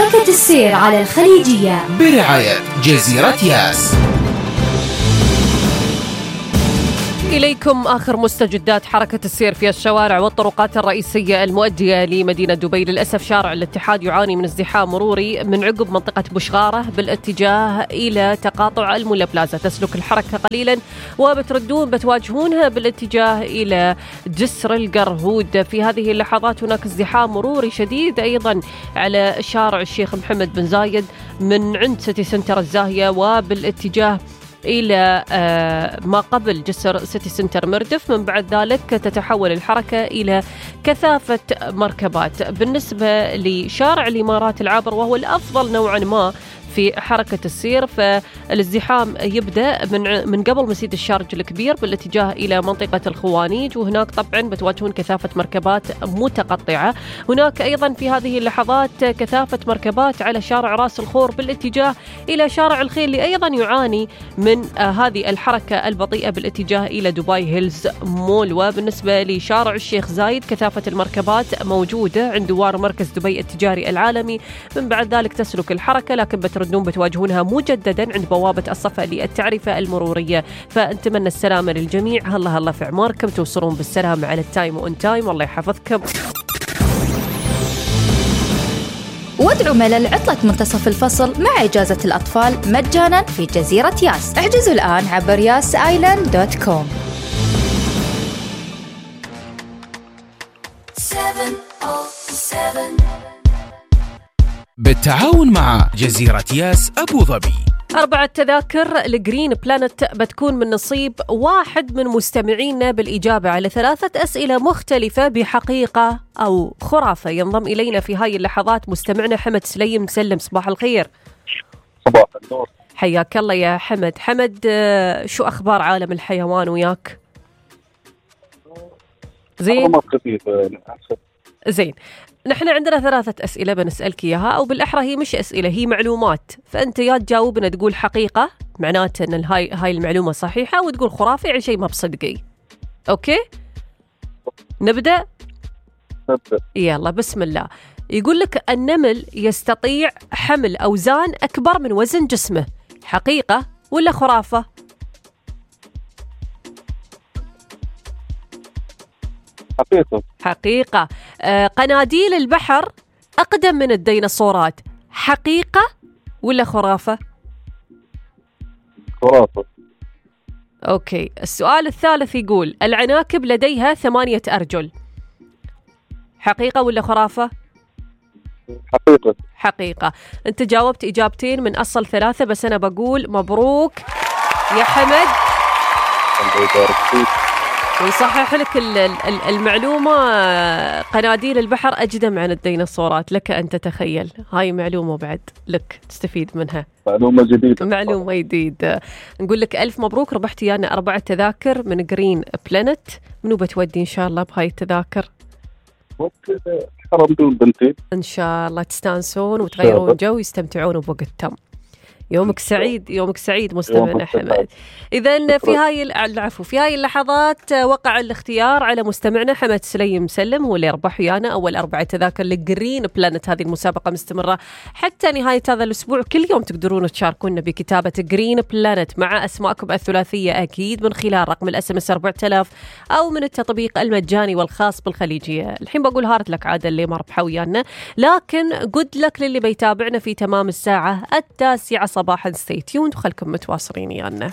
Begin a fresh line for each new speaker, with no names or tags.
حركة السير على الخليجية
برعاية جزيرة ياس.
إليكم آخر مستجدات حركة السير في الشوارع والطرقات الرئيسية المؤدية لمدينة دبي. للأسف شارع الاتحاد يعاني من ازدحام مروري من عقب منطقة بشغارة بالاتجاه إلى تقاطع المولا بلازا. تسلك الحركة قليلا وبتردون بتواجهونها بالاتجاه إلى جسر القرهود. في هذه اللحظات هناك ازدحام مروري شديد أيضا على شارع الشيخ محمد بن زايد من عند سيتي سنتر الزاهية وبالاتجاه إلى ما قبل جسر سيتي سنتر مردف. من بعد ذلك تتحول الحركة إلى كثافة مركبات. بالنسبة لشارع الإمارات العابر وهو الأفضل نوعا ما في حركة السير، فالازدحام يبدأ من قبل مسجد الشارج الكبير بالاتجاه إلى منطقة الخوانيج، وهناك طبعا بتواجهون كثافة مركبات متقطعة. هناك أيضا في هذه اللحظات كثافة مركبات على شارع راس الخور بالاتجاه إلى شارع الخيل اللي أيضا يعاني من هذه الحركة البطيئة بالاتجاه إلى دبي هيلز مول. وبالنسبة لشارع الشيخ زايد كثافة المركبات موجودة عند دوار مركز دبي التجاري العالمي. من بعد ذلك تسلك الحركة، لكن بتواجهونها مجددا عند بوابة الصفا للتعرفة المرورية. فنتمنى السلامة للجميع. هلا في عماركم، توصلون بالسلامة على التايم وان تايم، والله يحفظكم.
وادعوا ملل عطلة منتصف الفصل مع إجازة الأطفال مجانا في جزيرة ياس. احجزوا الآن عبر yasisland.com.
بالتعاون مع جزيرة ياس أبو ظبي.
4 تذاكر لجرين بلانت بتكون من نصيب واحد من مستمعينا بالإجابة على 3 أسئلة مختلفة بحقيقة أو خرافة. ينضم إلينا في هاي اللحظات مستمعنا حمد سليم. سلم، صباح الخير.
صباح النور.
حياك الله يا حمد. شو أخبار عالم الحيوان وياك؟ زين. نحن عندنا 3 أسئلة بنسألك إياها، أو بالأحرى هي مش أسئلة، هي معلومات. فأنت يا تجاوبنا تقول حقيقة معناته أن هاي المعلومة صحيحة، وتقول خرافي يعني شيء ما بصدقي. أوكي؟ نبدأ؟ يلا بسم الله. يقول لك النمل يستطيع حمل أوزان أكبر من وزن جسمه. حقيقة ولا خرافة؟ حقيقة. قناديل البحر أقدم من الديناصورات. حقيقة ولا خرافة؟
خرافة.
أوكي. السؤال الثالث يقول العناكب لديها 8 أرجل. حقيقة ولا خرافة؟
حقيقة.
حقيقة. أنت جاوبت إجابتين من أصل 3، بس أنا بقول مبروك يا حمد.
الله يبارك فيك.
ويصحح لك المعلومة. قناديل البحر أجدم عن الديناصورات. لك أن تتخيل. هاي معلومة بعد لك تستفيد منها.
معلومة جديدة.
معلومة جديدة. نقول لك ألف مبروك، ربحت يانا 4 تذاكر من جرين بلانت. منو بتودي إن شاء الله بهاي التذاكر؟
حرم دون بنتين.
إن شاء الله تستانسون وتغيرون جو ويستمتعون بوقتهم. يومك سعيد، يومك سعيد مستمعنا حمد. إذن في هاي اللحظات وقع الاختيار على مستمعنا حمد سليم مسلم، هو اللي يربح ويانا أول 4 تذاكر لجرين بلانت. هذه المسابقة مستمرة حتى نهاية هذا الأسبوع. كل يوم تقدرون تشاركونا بكتابة جرين بلانت مع أسماءكم الثلاثية، أكيد من خلال رقم الSMS 4000 أو من التطبيق المجاني والخاص بالخليجية. الحين بقول هارد لك عادة اللي ما ربحوا ويانا، لكن قد لك للي بيتابعنا في تمام الساعة 9 صباحا. stay tuned وخلكم متواصلين يانا.